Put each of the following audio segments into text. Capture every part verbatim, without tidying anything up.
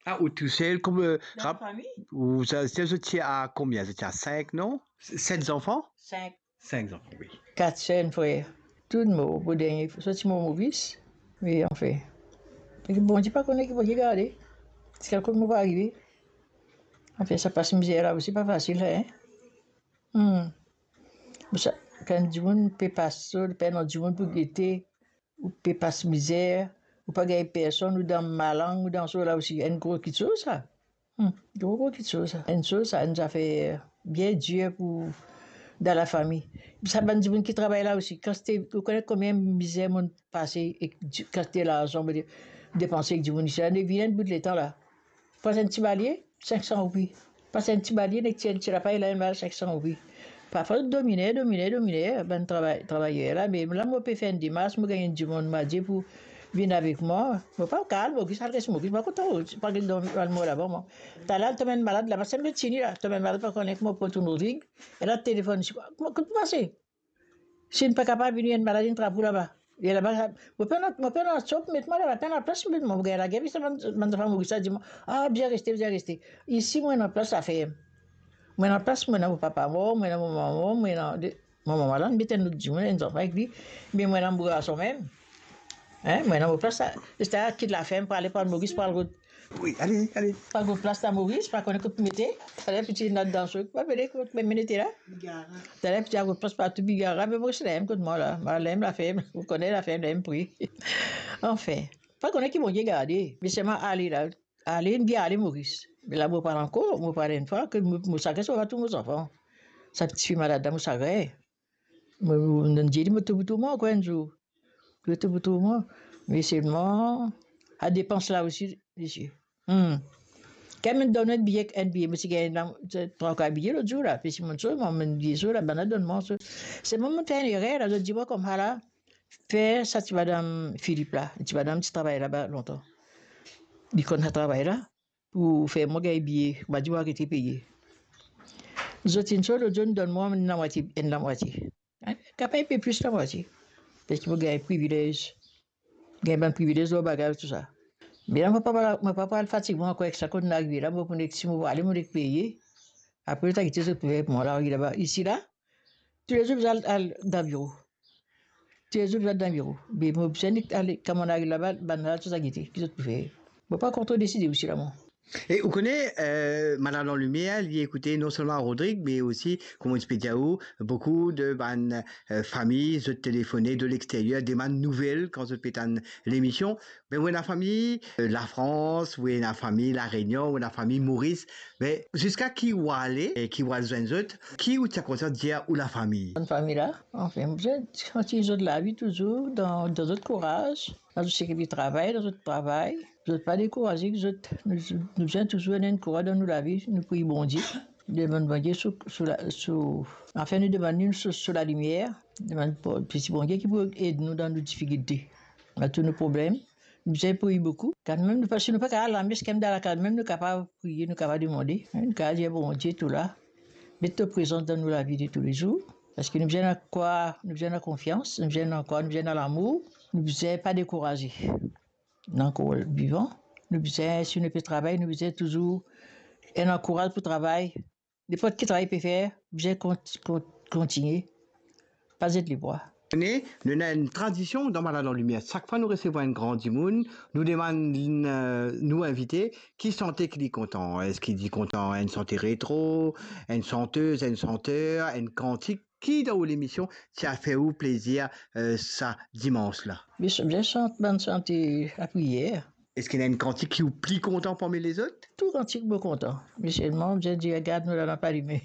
Ah, ou tousel, kom, euh, rap-, ou sa, sa, zot ti a konbien? Zot ti a sink, non? Set zanfan? Sink. Sink zanfan, wi. Kat ser, enn frer. Tou mor, pou dernie, zot ti mor Moris. Wi, anfin. Bondie pa kone ki Bondie garde. Ziska kot mo pou arive. Anfin, sa pas mizer la osi, pa fasil, hein. Hmm. Sa, kan dimoun pe pas, so, pe ena dimoun pou gete, ou pe pas mizer, ou pa gagn personn, ou dan malang, ou dan so la osi, enn gro kitsoz sa. Hmm, gro, gro kitsoz sa. Enn soz sa, enn zafer bien dir pou, dan lafami. Sa bann dimoun ki travay la osi, kantite, ou kone konbien mizer monn pase ek di-, kantite larzan monn depanse ek dimoun isi la, vinn enn bout letan la. Pas enn ti balie, sink san roupi. Pas enn ti balie, nek ti enn ti lapay la, enn bal sink san roupi. Parfwa domine, domine, domine, bann travay-, travayer la, me la mo pe fer enn demars, mo gagn enn dimoun, mo dir pou vinn avek mwa. Mo pa kal, mo gis al res, mo gis pa kontan, pa gagn dormi, al mor laba, mwa. Talal, to enn malad laba, sa mo tini la, to enn malad pa kone kouma pou tourn Rodrig, e la telefonn, si, mo, kot pou pase? Si nou pa kapav vini, enn malad, enn trap ou laba. E laba, mo pena, mo pena sop, met mwa laba, pena plas, met mwa, mo gagn lager, parski bann, bann zanfan Moris la dir mwa, "Ah, bizin reste, bizin reste." Isi, mo ena plas laferm. Mo ena plas, mo ena mo papa mor, mo ena mo mama mor, mo ena de, mo mama la, met enn lot dimoun, enn zanfan ek li, me mo ena mo garson mem. Hein, mo ena mo plas la. Zis kit laferm pou ale pran Moris, pou al rod Wi, ale, ale. Pa gagn plas la Moris, pa kone kot pou mete. Taler piti ena dan so, pa vele kot mem mete la. Bigara. Taler piti a gagn plas partou Bigara, me Moris la mem kot mwa la. Mwa la mem laferm, ou kone laferm la mem pri. Anfin, pa kone ki Bondie garde, me selman ale la, ale, bien ale Moris. Me la mo pran ankor, mo pran enn fwa, ke mo, mo sagres, mo pa tou mo zanfan. Sa tifi malad la, mo sagren. Mo, mo, mo dir li, mo tou pou tou mwa ankor enn zour. Mo tou pou tou mwa. Me selman, sa depans la osi, misie. Hmm. Kan mo donn enn biye, enn biye, mo ti gagn la, twa, twa biye lot zour la, pe si mo so, mo, mo dir so la, bann la donn mwa so. Selman mo fer enn erer la, zot dir mwa koumsa la, fer sa ti madam Philippe la, ti madam ti travay laba lontan. Li konn sa travay la, pou fer mwa gagn biye, pa dir mwa arete peye. Zot inn so, lot zour donn mwa enn lamwatie, enn lamwatie. Hein? Kapav enpe plis lamwatie. Parski mo gagn privilez. Gagn bann privilez lor bagay, tou sa. Me la, mo pa, mo pa pou al fatig mwa ankor ek sa, kot mo arive la, mo pou nek, si mo ale, mo nek peye. Apre, zot a gete zot pou fer pou mwa la, arive laba. Isi la, toulezour, bizin al, al dan biro. Toulezour bizin al dan biro. Me mo bizin ale, kan mo ariv laba, bann la, tou sa gete, ki zot pou fer. Mo pa ankor tro deside osi la, mwa. E ou kone, euh, Malad an Limier, li ekoute non selman Rodrig, me osi, kouma ti pe dir ou, boukou de bann, euh, fami, zot telefone de lexteryer, demann nouvel kan zot pe tann lemision. Me ou ena fami, euh, Lafrans, ou ena fami La Renion, ou ena fami Moris. Me ziska ki ou ale e ki ou al zwenn zot, ki ou ti a kontan dir ou lafami? Bann fami la, anfin, zot kontign zot lavi touzour dan, dan zot kouraz, dan zot seki travay, dan zot travay. Zot pa dekouraze, zot, nou, nou bizin touzour ena enn kouraz dan nou lavi, nou priy Bondie. Demann Bondie sou, sou la, sou, anfin, nou demann li sou, sou lalimier, demann pou, piti Bondie ki pou ed nou dan nou difikilte, dan tou nou problem. Nou bizin priy boukou. Kanmem, nou pa, si nou pa kapav al lames, kanmem dan lakaz mem, nou kapav priye, nou kapav demande. Nou kapav dir Bondie, tou la, met to prezans dan nou lavi de toulezour. Parski nou bizin ena krwar, nou bizin ena konfians, nou bizin ena krwar, nou bizin ena lamour, nou bizin pa dekouraze. Nou ankor vivan, nou bizin, si nou pe travay, nou bizin touzour ena kouraz pou travay. Ninport ki travay pe fer, bizin kont-, kont-, kontigne. Pa zet lebwa. Nou, nou ena enn tradision dan Malad an Limier. Sak fwa nou resevwar enn gran dimoun, nou demann, euh, nou invite, ki sante ki li kontan. Eski li kontan enn sante retro, enn santez, enn santer, enn kantik? Ki dan ou lemision ti a fer ou plezir, euh, sa dimans la? Bizin, bizin sant bann sante lapriyer. Eski ena enn kantik ki ou pli kontan parmi lezot? Tou kantik mo kontan. Me selman, bizin dir, gard nou lallanp alime.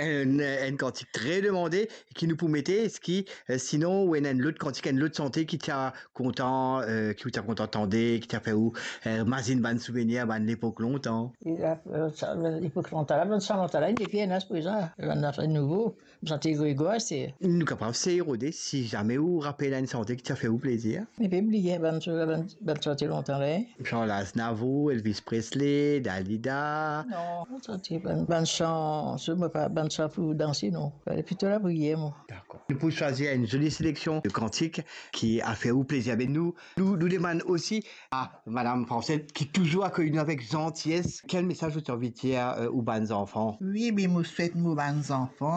Enn, enn kantik tre demande ki nou pou mete, eski, euh, sinon, ou ena enn lot kantik, enn lot sante ki ti a kontan, euh, ki ou ti a kontan tande, ki ti a fer ou, euh, mazinn bann souvenir, bann lepok lontan? E la, euh, sa, lepok lontan la, bann sa lontan la, inn depi ena prezan, bann zafer nouvo. Sante Gregwar, se... Nou kapav sey rode, si zame ou rapel enn sante ki ti a fer ou plezir. Mo pe bliye bann, bann, bann sante lontan la, hein. Charles Aznavour, Elvis Presley, Dalida. Non, sa ti bann, bann san, sa mo pa bann san pou danse, non. Fale plito lapriyer, mwa. Dakor. Nou pou swazir enn zoli seleksion de kantik ki a fer ou plezir. Me nou, nou, nou demann osi a Madam Francel, ki touzour akeyi nou avek zanties, kel mesaz ou ti anvi dir, euh, ou bann zanfan? Wi, be mo swet mo bann zanfan,